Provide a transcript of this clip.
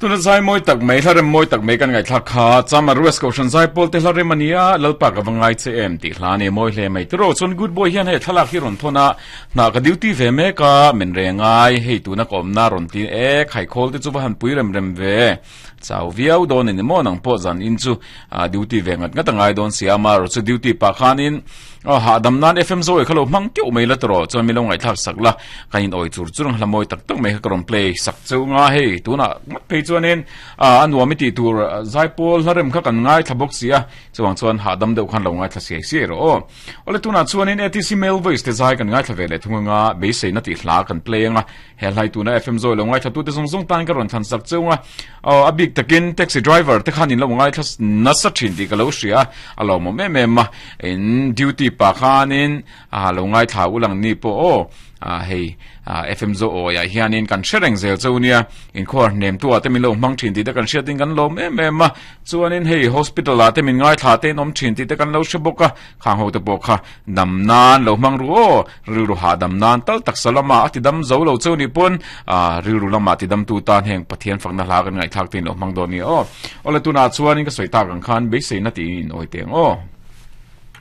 Tuna zai mawi tak mai, hla rem mawi tak mai kan ngaihthlak kha Chama Ruas Kohhran Zaipawl te hla rem a nia, Lalpa ka va ngai che em tih hla a ni mawi hle mai. Tiraw chuan Good Boy hian hei thlalak hi rawn thawn a, hna ka duty ve mek a, men re ngai, hei tuna ka awmna rawn ti e, khaikhawl te chu va han pui rem rem ve. Chau viau dawn a ni maw nang pawh zan in chu duty ve ngat ngat a ngai dawn si a, amaherawh chu duty pah khanin hahdam nan FM zawi kha lo hmang teuh mai la tawh chuan min lo ngaihthlak sak la, kan in awi chur chur ang hla mawi tak tak mai kha ka rawn play sak cheu nga hei tunah ngat phei chuanin a nuam i tih tur zaipawl hla rem kha kan ngaithla bawk si a, chuvang chuan hahdam deuh khan lo ngaithla siai siai rawh aw. Awle tunah chuanin ATC Male Voice te zai kan ngaithla ve leh thung anga beiseina tih hla kan play anga. He hlai tuna FM zawi lo ngaithla tute zawng zawng tan ka rawn thlan sak cheu a, aw a bik takin taxi driver te khan in lo ngaithla nasa thin tih ka lo hria a, a lawmawm em em a, in duty pa khanin a lo ngaithla u lang ni pawh aw, a hei FM zaw awi ah hianin kan hre reng zel cheu nia, inkhawar hnem tu ah te min lo hmang thin tih te kan hriatin kan lawm em em a, chuanin hei hospital ah te min ngaithla te in awm thin tih te kan lo hre bawk a, Khang ho te pawh kha dam nan lo hmang ru aw, rilru hahdam nan tal taksa lama a ti dam zo lo cheu nih pawn rilru lama ti dam tu tan heng Pathian fakna hla kan ngaihthlak te in lo hmang dawn nia aw. Awle tunah chuanin ka sawi tak ang khan beiseina tiin in awi teng aw.